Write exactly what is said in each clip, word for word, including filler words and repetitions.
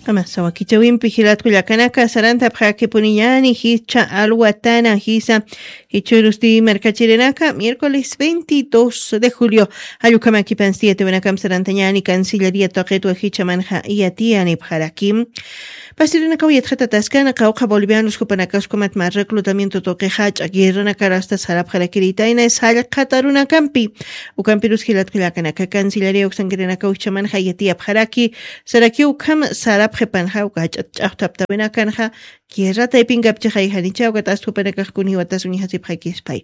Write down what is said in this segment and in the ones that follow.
Amasa wakichawimpi jilatku llakanaka sarantapxakipuniñani jicha alwatana jisa jichurusti markachirinaka miércoles veintidós de julio. Allukamakipan siete winakam sarantañani cancillería toqitwa jichamanxa yatiyanipxaraki. Pasirinakaw yatxatataskana qawqha bolivianos jupanakaskumat ma reclutamiento toqixach'a guerranakar asta sarapxarakiritayna sallqhatarunakampi. Ukampirus jilatku llakanaka cancillería uksankirinakaw jichamanxa yatiyapxaraki. Saraki ukham sarapxipanxa uka jach'at ch'axtaptawinakanxa guerra taypinkapchixay janicha ukat astupanakaxkuniwatas uñjasipxakispay.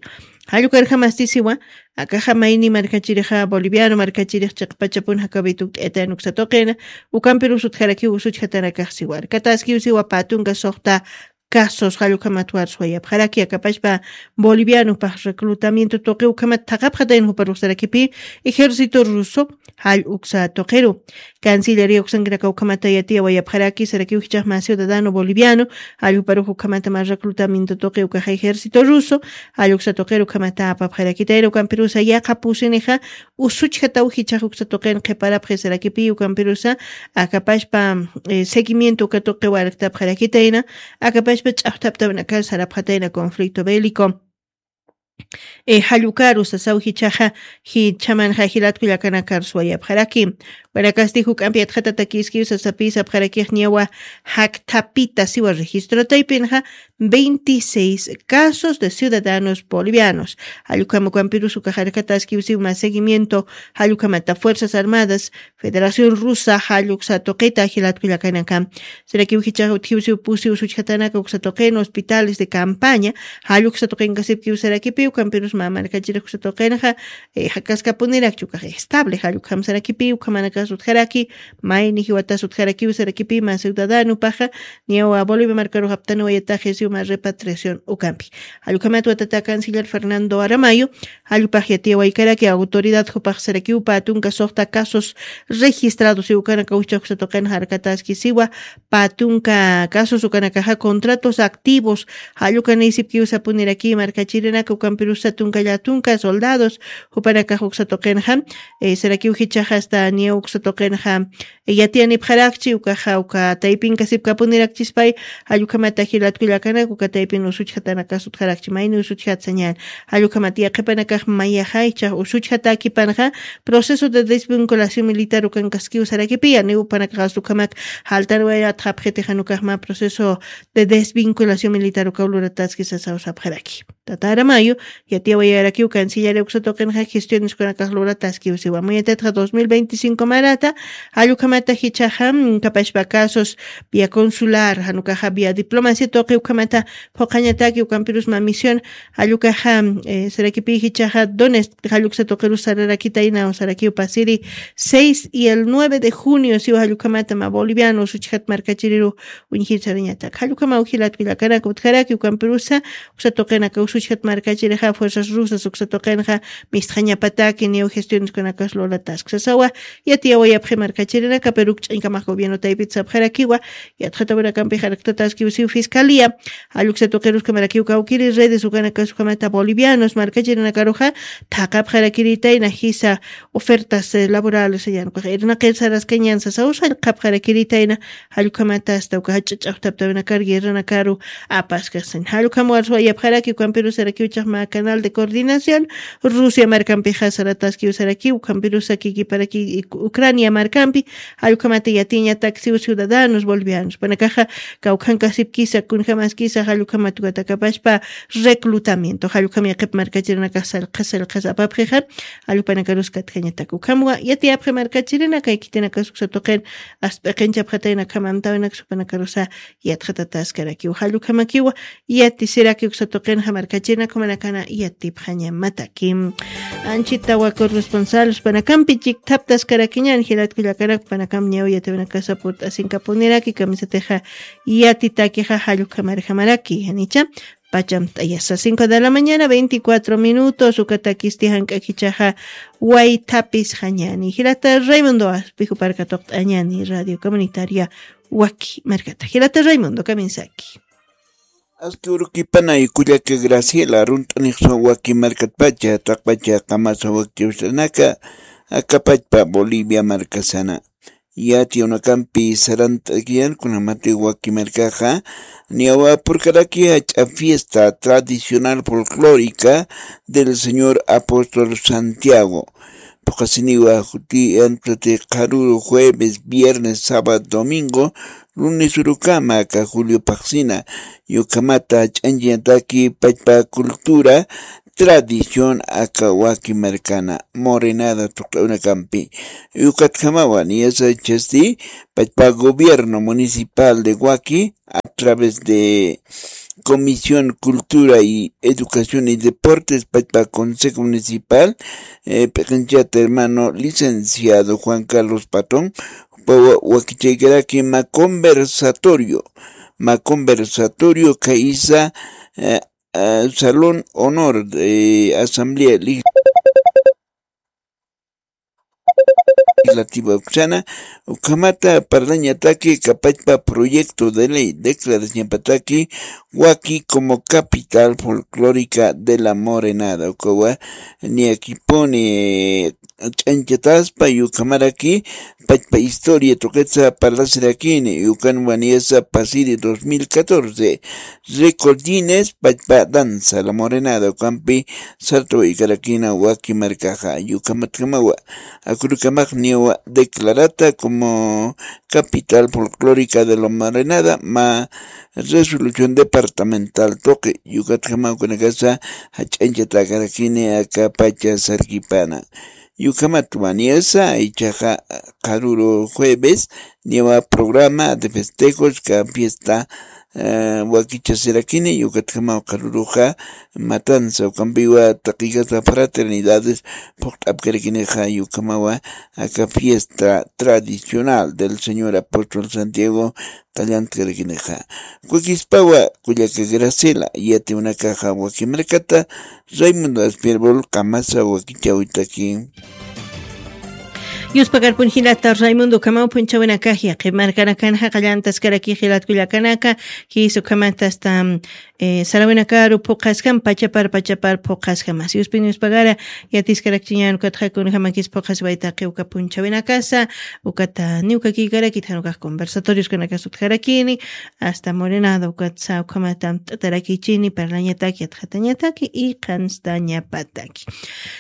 Jallukarjamastisiwa akaxa mayni markachirixa boliviano markachirix chiqpachapun jakawituk t'etan uksatoqina. Ukampirus utjarakiw usuchjatanakaxsiwa arkataskiwsiwa patunka soxta casos jallukhamat warsuwayapxaraki akapashpa bolivianopax reclutamiento tuqi ukhamat thaqapxatayn juparuxsarakipi ejército ruso jall uksa tuqiru. Cancillería uksankinaka ukhamata yatiyawayapxaraki sarakiw jichaxma ciudadano boliviano jall juparux ukhamata ma reclutamiento tuqi ukaxa ejército ruso jall uksa tuqiru ukhamata apapxarakitayra ukampirusa yaqa pusinixa usuchjataw jichax uksa tuqin qhiparapxi sarakipi ukampirusa akapashpa seguimiento uka tuqiw arktapxarakitayna akapashpa ch'axtaptawinakar sarapxatayna conflicto bélico. Jallukaru sasaw jichaxa jichamanxa jilatku llakanakar suwayapxaraki. Wanakasti juk'ampi atxatatakiskiw sasapisa apxarakix niyawa jakthapita siwa registro taypinxa veintiséis casos de ciudadanos bolivianos. Jallukam ukampirus ukaxarkataskiw siw ma seguimiento jallukamata fuerzas armadas federación rusa jalluksa tuqita jilatku llakanaka. Sirakiw jichaxa utjiw siw pusi usuchjatanaka uksa tuqin hospitales de campaña jalluksa tuqinkasipkiw sarakipi ukampirus ma markachirix uksa tuqinxa jakaskapunirakchi ukax estable jallukjam sarakipi ukhamanakas utjaraki. Mayni jiwatas utjarakiw sarakipi ma ciudadanopaxa niyawa bolivia markarux aptaniwayataxi siw ma repatriación ukampi. Jallukhamat watata canciller fernando aramayo jallupax yatiyawaykaraki autoridad jupax sarakiw patunka soxta casos registrados iwkanaka uchaxsa tuqinxa arkataskisiwa patunka casos ukanakaxa contratos activos jallukanisipkiw sapuniraki markachirinaka ukampirusa tunka llatunka soldados jupanakax uksa tuqinxa sarakiw jichaxa asta niya uksa tuqinxa yatiyanipxarakchi ukaxa uka taypinkasipkapunirakchispay. Jallukhamata jilatku llakanak uka taypin usuchjatanakas utjarakchi mayni usuchjatsañan jallukhamat yaqhipanakax mayaxa ichax usuchjatakipanxa proceso de desvinculación militar ukankaskiw sarakipiya niw upanakaxas ukhamak jaltanwayatxapxitixan ukaxma proceso de desvinculación militar ukaw lurataski sasaw sapxaraki. Tata aramayo yatiyawayarakiw canciller uksa tuqinxa gestiones kunakax lurataskiw siwa muyatatxa dos mil veinticinco marata jallukhamata jichaxa kapashpa casos via consular janukaxa via diplomacia tuqi ukhamata phuqhañataki ukampirus ma misión jallukaxa sarakipi jichaxa dones jalluksa tuqirus sararakitayna sarakiw pasiri seis y el nueve de junio siwa jallukhamata ma boliviano usuchjat markachiriru uñjir sarañatak jallukhama ujilatku llakanaka utjaraki ukampirusa uksa tuqinaka usuchjat markachirixa fuerzas rusas uksa tuqinxa mistxañapataki niw gestiones kunakas lurataski sasawa. Yatiyawayapxi markachirinaka pero ukch'añkamax gobierno taypit sapxarakiwa yatxatawinakampix arktataskiw siw fiscalía jalluksa tuqiruskamarakiw kawkiri redes ukanakas ukhamata bolivianos markachirinakaruxa thaqapxarakiritayna jisa ofertas laborales sañanukax irnaqir saraskañan sasaw sallqhapxarakiritayna jallukhamata asta uka jach'a ch'axtaptawinakar guerranakaru apaskaxsañ jallukhamwar suwayapxaraki ukampirusarakiw chaqma canal de coordinación rusia markampixa sarataskiw sarakiw ukampirusa kikiparaki ucrania markampi jallukhamata yatiñataksiw ciudadanos bolivianos panakaxa kawkhankasipkisa kunjamaskisa jallukhamat ukatakapashpa reclutamiento jallukham yaqhip markachirinakax sallqhas sallqhas apapxixa jallupanakarus katjañatak ukhamwa yatiyapxi markachirinaka ikitinakas uksa tuqin asp'iqinchapxatayna khamantawinak supanakarusa yatxatataskarakiw jallukhamakiwa yatisiraki uksa tuqinxa markachirinakhumanakana yatipxañamataki. Anchitawa corresponsal uspanakampi chikthaptaskarakiñan jilatku llakanak upanakam ñaw yatiwinakasa purt'asinkapuniraki kamisatixa yatitakixa jallukhamarjamaraki janicha pachamt'ayasa cinco de la mañana veinticuatro minutos ukatakisti jank'akichaxa waythapis jañani jilata raymundo aspijuparka tuqt'añani radio comunitaria waki markata jilata raymundo kaminsaki. Aski urukipanay kullaka graciela runt'anixsa waki markatpacha taqpacha qamasa waki usanaka akapachpa bolivia markasana. yati unakampi sarant'akiyan kunamati waki markaxa, niyawapurkaraki jach'a fiesta tradicional folclórica del señor apóstol Santiago. Phuqasiniwa juti antati qharuru jueves, viernes, sábado, domingo, lunes urukama aka julio phaxsina, yukhamata ch'anchintaki pachpa cultura, tradición aka waki markana morenada tuq'unakampi. Yukatjamawa niyasa chasti pachpa gobierno municipal de waki a través de Comisión Cultura y Educación y Deportes, pachpa Consejo Municipal, eh, p'iqinchata hermano licenciado Juan Carlos Patón, pa wa- wakichaykaraki ma conversatorio, ma conversatorio kaisa, eh, eh, Salón Honor de Asamblea Legislativa uksana, ukhamata parlañataki kapachpa proyecto de ley declarañapataki waki como capital folclórica de la morenada. Ukawa niyakipuni ch'anchataspa, yukhamaraki pachpa historia tuqitsa parlasirakini, yukan waniyasa pasiri dos mil catorce, récord Guinness pachpa danza la morenada ukampi sartawaykarakina waki markaxa. Yukhamatjamawa akurukamax niyawa declarata como capital folclórica de la morenada ma resolución departamental tuqi. Yukatjamawa kunakasa jach'anchatakaraki aka pacha sarkipana. Yukhamat waniyasa ichaxa qharuru jueves niyawa programa de festejos ka fiesta, eh, wakichasirakini. Yukatjamawa qharuruxa matanza ukampiwa taqikasa fraternidades phuqt'apkarakinixa. Yukhamawa aka fiesta tradicional del señor apóstol Santiago qallantkarakinixa. Kukispawa kullaka Graciela yatiwnakaxa wakimarkata Raimundo Aspirbol qamasa wakichawitaki. Yuspakarpun jilata Raimundo ukhamaw phunchhawinakax yaqi markanakanxa qallantaskaraki jilat kullakanaka, jis ukhamata hasta, eh, sarawinakaru phuqhaskam pachapar pachapar phuqhaskamas yuspin yuspagara yatiskarakchiñan ukatxa kunjamakis phuqhasway taqi uka phunchhawinakasa. Ukata niwkakiykarakit jan ukax conversatorios kanakas utjarakini, hasta morenada ukatsa ukhamata t'atarakichini parlañataki yatxatañataki y qhanstañapataki.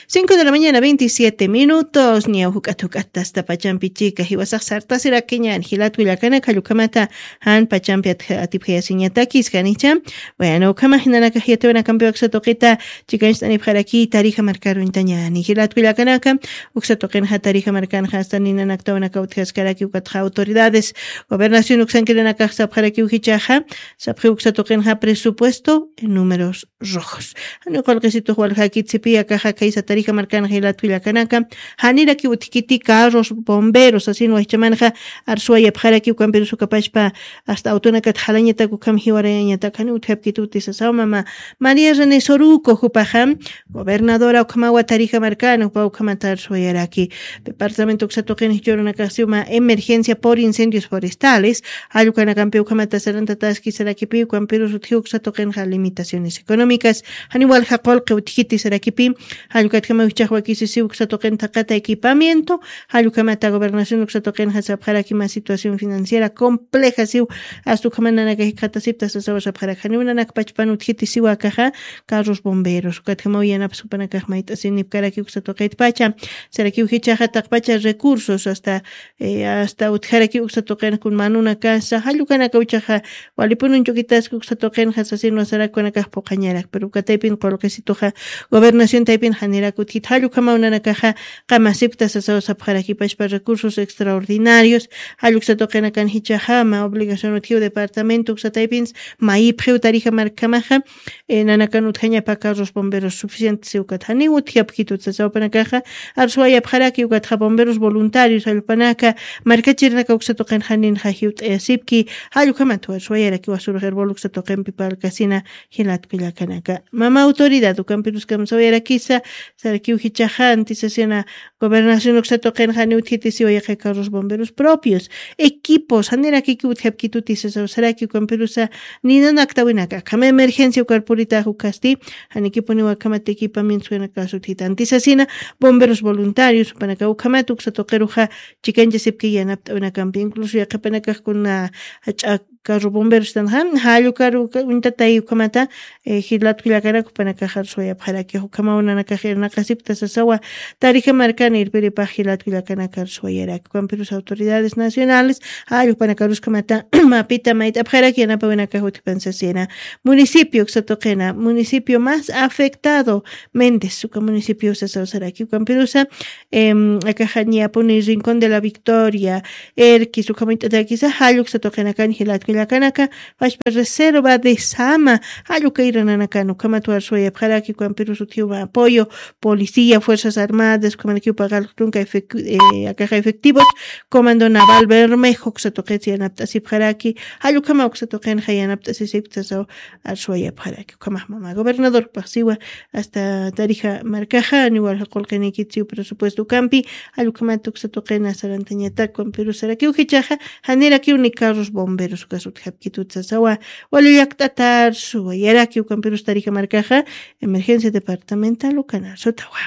Cinco de la mañana, veintisiete minutos. Niyaw juk'at juk'at tasta pachampi chika jiwasax sartasirakiñan jilat kullakanaka, jallukhamata jan pachampi atipjayasiñataki iskanicha. Bueno, ukhama jinanakax yatiwanakampiwa uksa tuqita chikancht'anipxaraki tarija markaruñtañani jilat kullakanaka. Uksa tuqinxa tarija markanxa hasta ninanaktawanaka utjaskaraki ukatxa autoridades gobernación uksankirinakax sapxarakiw jichaxa, sapxiw uksa tuqinxa presupuesto en números rojos. Jani qullqisitux waljakitsipi akaxa kaysa tarija markanxa jilat kullakanaka, janirakiw utjkiti carros bomberos asin wajchamanxa arsuwayapxarakiw ukampirus ukapachpa hasta autonakat jalañatak ukham jiwarayañatak jani utjapkituti sasaw mama María René Soruco jupaxa gobernadora ukhamawa tarija markana jupa ukhamata arsuwayaraki. Departamento uksa tuqin jichhurunakaxsiw mä emergencia por incendios forestales, jallukanakampi ukhamata sarantataski sarakipi ukampirus utji uksa tuqinxa limitaciones económicas, jani walja qullqi utjkiti sarakipi. Jallukatjama wijchax wakisisiw uksa tuqin thaqata equipamiento, jallukhamata gobernación uksa tuqinxa sapxaraki mä situación financiera compleja siw, hasta ukhama nanaka jikxatasipta sasawa sapxarak janiw nanak pachpan utjkiti siwa akaxa carros bomberos ukatjamaw yanapas jupanakax mayt'asinipkaraki uksa tuqitpacha. Sarakiw jichaxa taqpacha recursos hasta, eh, hasta utjaraki uksa tuqinxa kun manunakasa jallukanaka uchaxa walipunun chukitaski uksa tuqinxa sasinwa sarakukanakax phuqhañarak pero ukataypin qullqisituxa gobernación taypin janirak utjit jallukhamaw nanakaxa qamasipta sasaw sapxarakipachpa recursos extraordinarios. Jalluksa tuqinakan jichaxa mä obligación utjiw departamento uksa taypins mayipxiw tarija markhamaxa, eh, nanakan utjañapa carros bomberos suficientes ukat janiw utjapkitut sasaw panakaxa. Arsuwayapxaraki ukatxa bomberos voluntarios allpanaka markachirinaka uksa tuqin janinxa jiwt'ayasipki. Jallukhamat arsuwayaraki wasurux herbol uksa tuqinpi palkasina jilat kullakanaka mama autoridad ukampirus kamsawayarakisa. Sarakiw jichaxa antisasina gobernación uksa tuqin tuqinxa janiw utjiti siwa yaqha carros bomberos propios, equipos, janirakiki utjapkituti sasaw saraki, ukampirusa ninanaktawinaka akhama emergencia ukar puritax ukasti, janikipuniw akhamat equipamientos ukanakas utjitanti sasina, bomberos voluntarios, jupanaka ukhamat uksa tuqiruxa chikanchasipki yanapt'awinakampi, incluso yaqhipanakax kuna jach'a carro bomberos tanxa, jallu carro uka-, uñtatay ukhamata, eh, jilatku llakanaka jupanakax arsuwayapxaraki, ukhamaw nanakax irnaqasipkta sasawa, Tarija markan irpiripax jilatku llakanaka arsuwayaraki, ukampirus autoridades nacionales, jallu jupanakaruskhamata, mapita mayt'apxaraki yanapawinakax utjipan sasina. Municipio uksa tuqina, municipio más afectado, Méndez, uka municipio sasaw saraki, ukampirusa, em, akaxa ñapuni Rincón de la Victoria, Erquis, ukham uñt'atakisa, jalluksa tuqinakan jilatku llakanaka, pachpa reserva de Sama, jallukayrananakan, ukhamat arsuwayapxaraki, ukampirus utjiw mä apoyo, policía, fuerzas armadas, ukhamanakiw paqal tunka efec-, eh, akaxa efectivos, Comando Naval Bermejo, uksa tuqitsa yanapt'asipxaraki, jallukhama uksa tuqinxa yanapt'asisipkta sasaw arsuwayapxaraki. Ukhamax mama gobernadorpax siwa, hasta Tarija markaxa, niwal qullqinïkit siw presupuesto ukampi, jallukhamat uksa tuqina sarantañatak, ukampirus sarakiw jichhaxa, janirakiw ni carros bomberos ukas utjapkitut sasawa, wali llakt'atar suwayaraki, ukampirus Tarija markaxa, emergencia departamental ukanar sutawa.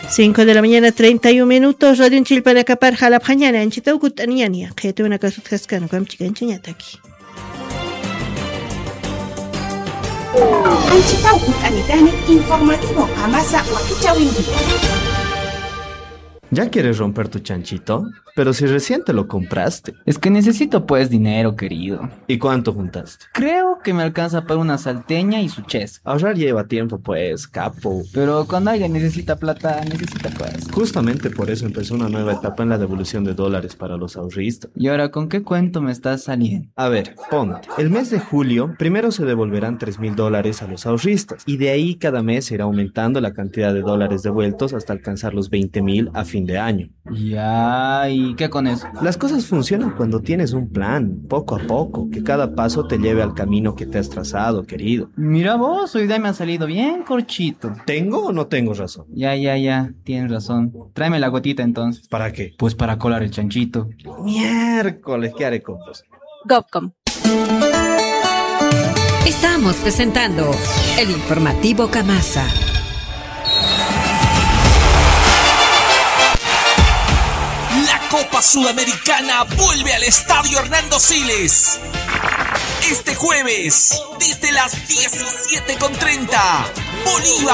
Cinco de la mañana, treinta y un minutos, radio chillpanakapar jalapxañani, anchitaw kutt'aniñani, qhiyatiwinakas utjaskani, ukamp chikanchañataki. Anchitaw kutt'anitani, informativo Kamasa wakichäwinki. ¿Ya quieres romper tu chanchito? Pero si recién te lo compraste. Es que necesito, pues, dinero, querido. ¿Y cuánto juntaste? Creo que me alcanza para una salteña y su chesco. Ahorrar lleva tiempo, pues, capo. Pero cuando alguien necesita plata, necesita, pues. Justamente por eso empezó una nueva etapa en la devolución de dólares para los ahorristas. ¿Y ahora con qué cuento me estás saliendo? A ver, ponte. El mes de julio, primero se devolverán tres mil dólares a los ahorristas, y de ahí cada mes se irá aumentando la cantidad de dólares devueltos hasta alcanzar los veinte mil a fin de año. Ya, ¿y qué con eso? Las cosas funcionan cuando tienes un plan, poco a poco, que cada paso te lleve al camino que te has trazado, querido. Mira vos, hoy día me ha salido bien corchito. ¿Tengo o no tengo razón? Ya, ya, ya, tienes razón. Tráeme la gotita entonces. ¿Para qué? Pues para colar el chanchito. Miércoles, ¿qué haré con vos? Gopcom. Estamos presentando el informativo Kamasa. La Copa Sudamericana vuelve al Estadio Hernando Siles. Este jueves, desde las diecisiete con treinta, Bolívar